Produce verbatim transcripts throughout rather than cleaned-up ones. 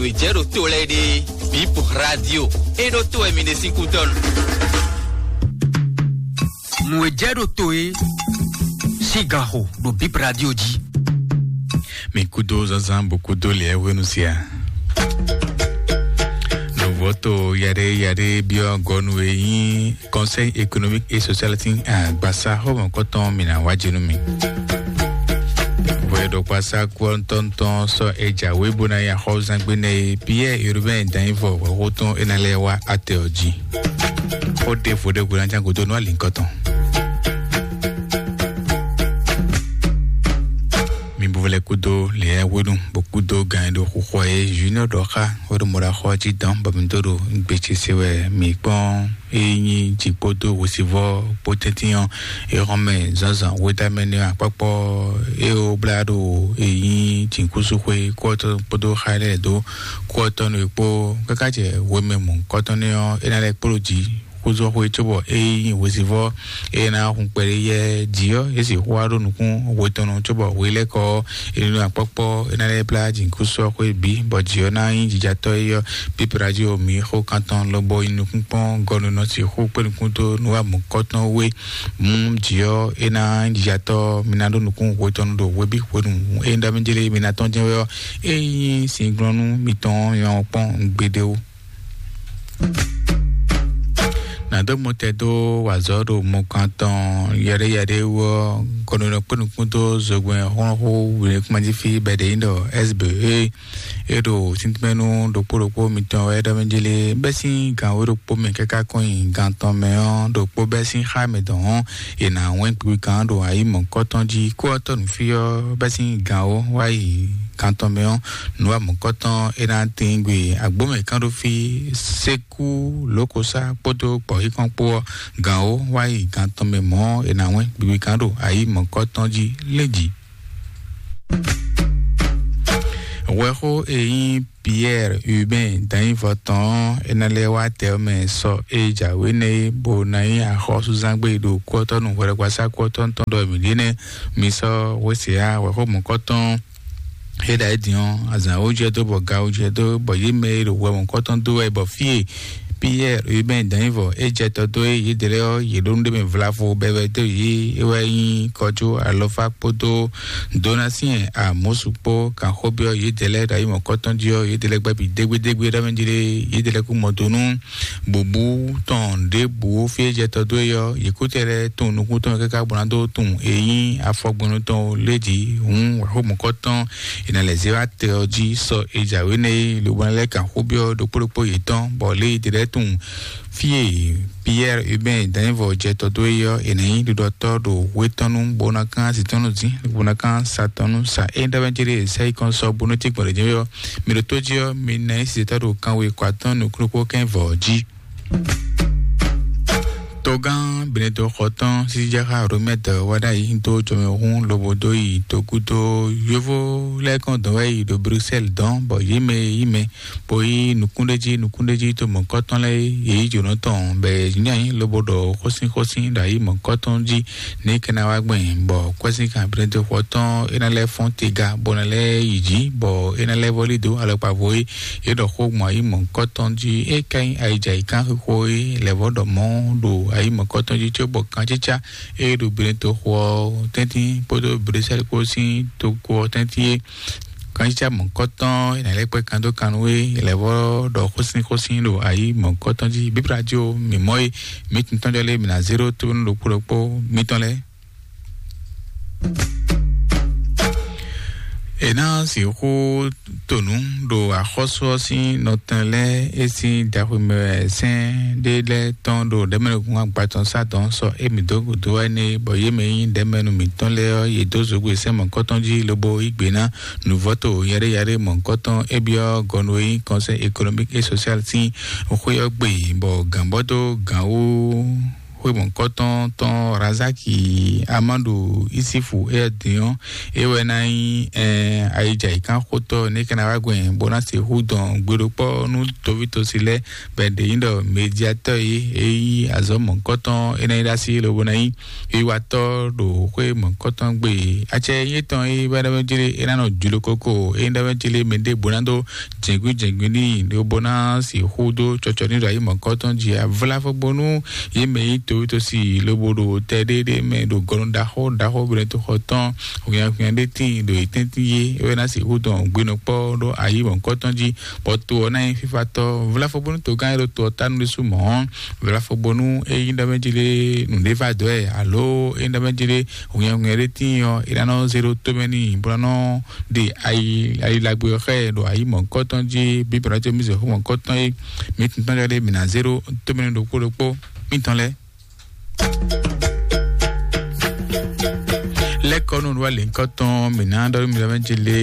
Nǔ e jɛ ɖo to lɛ́ɛ ɖe, Bip Radio. É ɖó to wɛ mi ɖe sín kúdɔnu. Nǔ e jɛ ɖo to é, sín ganxo ɖo Bip Radio jí. Mi kúdó zazan bó kúdó lɛ́ɛ hwenu sia. Nǔvɔ́to yaɖé yaɖé byɔ́ gɔnu e nyí Conseil économique et social tin agbasa xɔmɔkɔtɔn mi na wá jenu mi. Vɔyɛɖɔkpasa kúɔntɔntɔn sɔ e jǎwe bó ná ya xɔzangbe nɛ e Pierre Urbain Danyivɔ wɛxótɔn e ná lɛ́ wá atɛ ɔ́ jí. Xó ɖěvo ɖé gbe ná ján gúdo nú alinkɔtɔn. Mi bo lɛ kúdó lɛ̌ hwenu bó kúdó gan e ɖo xuxɔ e Junior ɖɔ xá xó ɖo mɔɖaxɔ jí dɔn bɔ mi dó ɖo gbèsese wɛ mi kpɔ́n. Ényí jǐ kpódó hwesivɔ́ kpó tɛ́ntin ɔ́, é xɔ́n mɛ zǎnzǎn wétamɛ nɛ́ akpákpɔ́ é ó blá ɖo ényí jǐkúsúxwé kpódó xá lɛ́ɛ dó kú ɔ́ tɔn nú é kpó káká jɛ hwemɛ mɔ̌hunkɔtɔn nɛ́ ɔ́, é ná lɛ́ kpló jǐ xúzɔ́xwé cóbɔ ényí hwesivɔ́ é ná hun kpɛɖé yɛ jǐ ɔ́, é sixú wá ɖó nukún hwe tɔn nu cóbɔ hwe lɛ́ɛ kɔ ɔ́, é nú akpɔ́kpɔ́ é ná lɛ́ blá jǐkúsúxwé bǐ, bɔ jǐ ɔ́ ná nyí jijatɔ́ é ɔ́. Píplájí o mǐ xó kantɔn lobɔ nyi nukúnkpɔ́n gɔ́ nú nɔ sixú kpé nukún dó nú wa mɔ̌kɔtɔn wé. Mú jǐ ɔ́ é ná jijatɔ́ mi ná ɖó nukún hwe tɔn nu ɖo hweví hwenu e un ɖɔ mì jlé mi ná tɔ́n jɛ́n wɛ ɔ́, é nyí singlɔ́nú mitɔn nyɔ́ kpɔ́n gbeɖé ó. Nǎ dó mɔtɛ dó wazɔ̌ ɖo mɔkan tɔn yɛɖéyɛɖé wú ɔ́, gɔnunɔ kpé nukún dó zogbɛ́n xlɔ́nxó wǐnlékúnmajífí bɛ̌ɖenyí ɖɔ S B E. É ɖo tíntímɛ́nú ɖokpó ɖokpó mitɔn wɛ ɖɔ mɛ jélé bɛ́ sín gan wé ɖokpó mɛ káká kɔn nyi gan tɔn mɛ ɔ́, ɖokpó bɛ́ sín xá mɛ dɔn ɔ́, è nǎ wɛ́n kpikpikán ɖo ayǐ mɔ̌kɔtɔn jí. Kú ɔ́ tɔ́ nǔ fí ɔ́ bɛ́ sín gan wó wá yi gan tɔn mɛ ɔ́, nǔ wa mɔ̌kɔtɔn é ná tín gbe agbǒmɛ kán ɖó fí sékú lǒkosá kpódó gbɔ̌xíkɔ́n kpó ɔ́, gan wó wá yi gan tɔn mɛ mɔ̌ è nǎ wɛ́n kpikpikán ɖo ayǐ mɔ̌kɔtɔn jí lé jí. Hwɛxó e nyí Pierre Urbain Danyivɔ tɔn ɔ́, é ná lɛ́ wá tɛ ɔ́ mɛ sɔ e jǎwe nɛ́ é, bó ná nyí axɔ́súzán gbé ɖo kúɔtɔ́ nú hwɛɖɔgbasá kúɔtɔ́ tɔn ɖɔ mǐ ɖe nɛ́. Mi sɔ́ hwesɛ́ á hwɛxó mɔ̌kɔtɔn é ɖa é din ɔ́, azǎn wó jɛ dó bɔ ga wó jɛ dó bɔ yě mɛ e ɖo hwɛ mɔ̌kɔtɔn dó wɛ bɔ fí e Pierre Urbain Danyivɔ é jɛ tɔ dó é yědɛɛ lɛ́ɛ ɔ́, yě ɖó nú ɖé mɛ vlavo bɛbɛ dó yě é wɛ nyí kɔjú alɔfá kpódó Donatien Amosu kpó kan xó byɔ́ yědɛɛ lɛ́ɛ ɖo ayǐ mɔ̌kɔtɔn jí ɔ́, yědɛɛ lɛ́ɛ gbɛ́ bǐ dégbédégbé ɖɔ mɛ jí ɖé, yědɛɛ lɛ́ɛ kún mɔ do nú bǔbú tɔn ɖěbǔ fí e jɛ tɔ dó é ɔ́, yě kú tɛ lɛ́ɛ tunwun nukún tɔn káká bó ná dó tunwun e nyí afɔgbɛnnu tɔn lé jí hǔn wɛ̌xo mɔ̌kɔtɔn è nǎ lɛ́ zé wá tɛ ɔ́ jí sɔ e jǎwe nɛ́ é, lobo ná lɛ́ kan xó byɔ́ ɖokpó ɖokpó yětɔn, bɔ lě e è ɖe lɛ́ɛ tunwun fí e Pierre Urbain Danyivɔ jɛ tɔ dó é ɔ́, è nǎ nyí ɖiɖɔtɔ́ ɖo hwe tɔn nu bó ná kán asi tɔn nu dín, bó ná kán sa tɔn nu sa. É nyí ɖɔ mɛ jí ɖe sɛ́ yi kɔn sɔ bónú tí gbɔn ɖě jɛ ɔ́, mi ɖo tó jí ɔ́, mi ná nyí sizetɔ́ ɖo kanwe kɔ atɔ́ nukúnnú kpó kɛ́n vɔ̌ jí. Togán Benedɔxɔtɔn Sijaxa Romɛt wá ɖ'ayǐ dó jɔmɛhún lobo dó yi togúdo yóvó lɛ́ɛ kɔn dɔn wɛ yi ɖo Bruxelles dɔn, bɔ yě mɛ yí mɛ bó yí nukúnɖéjí nukúnɖéjí to mɔ̌kɔtɔn lɛ́ɛ yě yí jǒnɔ tɔn bɔ yě nyi ayǐ lobo ɖɔ xósínxósín ɖo ayǐ mɔ̌kɔtɔn jí ní kɛ́ ná wá gbɛn, bɔ kwɛ́sín kan Benedɔxɔtɔn é ná lɛ́ fɔ́n tega bó ná lɛ́ yi jǐ, bɔ é ná lɛ́ vɔ́lí dó alɔkpa vo é yě ɖɔ xó gbɔn ayǐ mɔ̌hunkɔtɔn jí. É ka nyí ayǐjǎyǐkánxixo e lɛ̌vɔ́ ɖɔ mɔ̌ ɖo ayǐ mɔ̌hunkɔtɔn jí cóbɔ kancícá e ɖo Benetoxo ɔ́ tɛ́ntin kpódó Blɛ́sɛ́li kpó sín toxo ɔ́ tɛ́ntin é. Kancícá mɔ̌hunkɔtɔn e nǎ lɛ́ kpɛ́ kan dó kan nú é lɛ̌vɔ́ ɖɔ xósínxósín ɖo ayǐ mɔ̌hunkɔtɔn jí. Bíbla jí o, mǐ mɔ é, mǐ tun tɔ́njɔ lé mǐ ná zé ɖó tónú ɖokpó ɖokpó mǐtɔn lɛ́ɛ. È nǎ sixú tonu ɖo axɔ́sú ɔ́ sín nɔtɛn lɛ́ɛ é sín daxwemɛ sɛn ɖé lɛ́ɛ tɔn ɖo ɖɛ̌mɛnukun agbatɔn sá dɔn sɔ émí dó gǔdo wá énɛ́, bɔ yě mɛ nyí ɖɛ̌mɛnu mǐtɔn lɛ́ɛ ɔ́, yě dó zǒgbé sɛ́n mɔ̌kɔtɔn jí lobo yí gbe ná nǔvɔ́to yaɖéyaɖé mɔ̌kɔtɔn é byɔ́ gɔnu e nyí Conseil économique et social sín xwé ɔ́ gbe, bɔ gǎnbɔ́ dó gǎn wú Xwé mɔ̌kɔtɔn tɔn Razaki Amadu Isifu Ɛdinyɔn, é wɛ ná nyí ayidja yǐkánxotɔ́ ní kɛ́n ná wá gbɛn bó ná sixú dɔn gbeɖokpɔ́ nú tovítosi lɛ́ɛ bɔ è ɖe nyí ɖɔ mediatɔ́ e é nyí azɔ̌ mɔ̌kɔtɔn é ná nyí ɖó así lobo ná nyí wiwatɔ́ ɖo xwé mɔ̌kɔtɔn gbe. Acɛ nyí tɔn é wɛ ɖɔ mɛ jlé é ná nɔ jlo koko é nyí ɖɔ mɛ jlé mɛ ɖěbǔ ná dó jɛ̌ngbín jɛ̌ngbín n'i lobo ná sixú dó cɔcɔ ní ɖo ayǐ mɔ̌kɔtɔn jí avláfɔgbónú yě mɛ nyí towítɔ́si lobo ɖo tɛ ɖéɖé mɛ ɖo gɔnu ɖaxó ɖaxó bɛnɛtoxɔ tɔn hwinhwanhwinhwan ɖé tíin ɖo yě tɛ́ntin yé é wɛ ná sixú dɔn gbinukpɔ́ ɖó ayǐ mɔ̌kɔtɔn jí bɔ to ɔ́ ná nyí fífátɔ́. Vláfɔgbónú togán e ɖo to ɔ́ tánu ɖésú mɔ̌, vláfɔgbónú é nyí ɖɔ mɛ jí lé nǔɖé va dɔ̌ ɛ alo é nyí ɖɔ mɛ jí lé hwinhwanhwinhwan ɖé tíin ɔ́, é ná nɔ zé ɖó tómɛ n'i bó ná nɔ ɖe ayi ayi lagbe ɔ́ xá ɛ ɖo ayi mɔ̌hunkɔtɔn jí. Bíbélɔ ce mì zɔ̌ xó mɔ̌hunkɔtɔn e mǐ tɔn tɔn lɛ́ɛ ɖe mǐ ná zé ɖó tómɛ n'i ɖokpó ɖokpó mítɔn lɛ́ɛ. Lɛ́kɔ́nú wá lěńkɔ́tɔn mǐ ná ɖɔ mǐ lɛ́ mɛ jí lé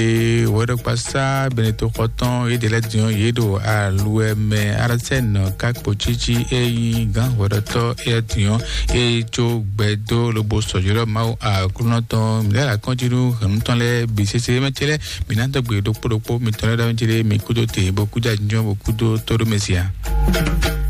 wɛɖɔkpasá bɛnɛtoxɔtɔn yéɖé lɛ́ɛ din ɔ́ yě ɖo aluwɛ mɛ arásɛ́nɔ kákpo cící e nyí gǎn hwɛɖɔtɔ́ éyɛ́ din ɔ́, e có gbɛdó lobo sɔ̌jɔ́ɖɔ Mawu Aklúnɔ tɔn mǐ lɛ́ ɖo akɔ́njí nú hɛ̌nnu tɔn lɛ́ɛ bǐ sésé mɛ ce lɛ́ɛ mǐ ná dɔ́ gbe ɖokpó ɖokpó mitɔn lɛ́ɛ ɖɔ mɛ ce lɛ́ɛ mi kúdó te bó kúdó ajínjɔ́n bó kúdó tóɖó mɛ sia.